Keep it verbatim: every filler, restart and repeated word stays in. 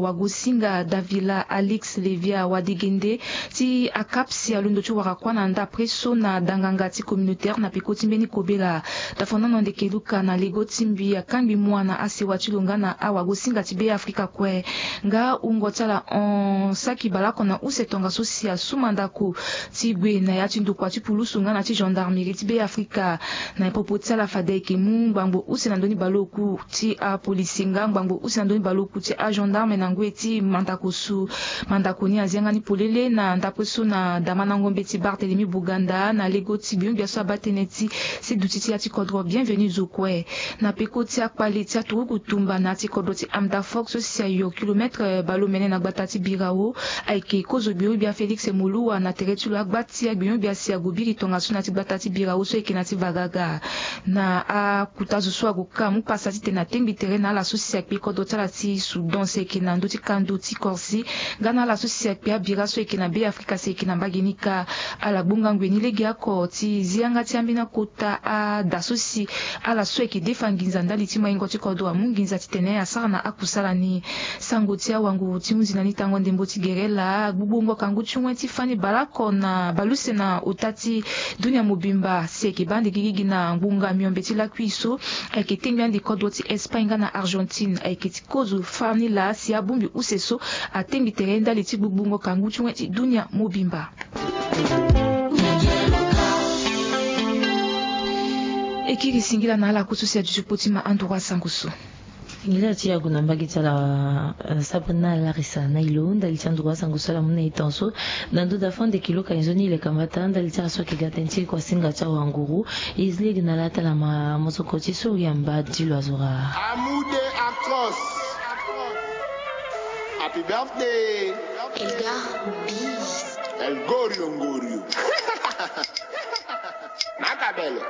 Wagosinga Davila Alix Levia Wadegende ti akapsi alondo ti wara kuâ na ndapre so na danganga ti communautaire na peko ti mbeni kobela. Tafondano ndeke luka na lego ti mbi akangbi mua na asewa ti lo nga na awagosinga ti Be Afrika kue. Nga wungo ti ala hon saki baleoko na use tongaso si asu mandako ti gue na ya ti ndokua ti pulusu nga na ti gendarmerie ti Be Afrika. Na popo ti ala fade ayeke mu ngbangbo use na ndö ni baleoku ti apolisi nga ngbangbo use na ndö ni baleoku ti agendarme na ngoi ti mandako su. Mandako ni azia nga ni polele na ndapre so na damandango mbeti Barthélemy Boganda na lego ti gbio-gbia so abaa tënë ti seduti ti ya ti kodro Bienvenu zo kue. Na peko ti akpale ti aturuku tumba na ya ti kodro ti Amdafok so si ayo kilomètre baleomene na gbata ti Birao, ayeke kozo gbio-gbia Félix Moluwa na tere ti lo agba ti agbio-gbia si ague biri tongaso na ya ti gbata ti Birao so ayeke na ya ti Vagaga. Na akuta zo so ague ka amu pasa titene atengbi tere na ala so si akpe kodro ti ala ti Soudan si ayeke na ndö ti kando ti Corse nga na ala so si akpe abira so ayeke na Be Afrika si ayeke na mbage ni kâ. Ala gbonga ngoi ni legeoko ti zi yanga ti ambeni akota ada so si ala so ayeke defa nginza ndali ti maingo ti kodro amu nginza titene asara na akusala ni. Sango ti awanguru ti hunzi na ni tango ndembo ti gere laa gbugbongo kangu ti wen ti fani baleoko na baleuse na ota ti dunia mobimba si ayeke baa ande gigigi na ngbonga miombe ti lakui so ayeke tengbi ande kodro ti Espagne nga na Argentine ayeke ti kozo fani laa si abongbi use so atengbi tere ndali ti gbugbongo kangu ti wen ti dunia mobimba. E kiri singila na ala ku so si aduti kpo ti ma anduru asango so. Singila ti yagu na mbage ti ala, eh, Sabrina Larissa na ilo ndali ti anduru asango so ala mu na e tongaso. Na ndo da fo ande kilo ka nzoni le kambata ndali ti ala so ayeke ga tënë ti kuasinga ti awanguru. E zi lege na ala ti ala ma mosoko ti sori amba ti lo azo ra. Amude Actros. Happy birthday. Elga Biz. El Gorio Ngorio. Makabelo.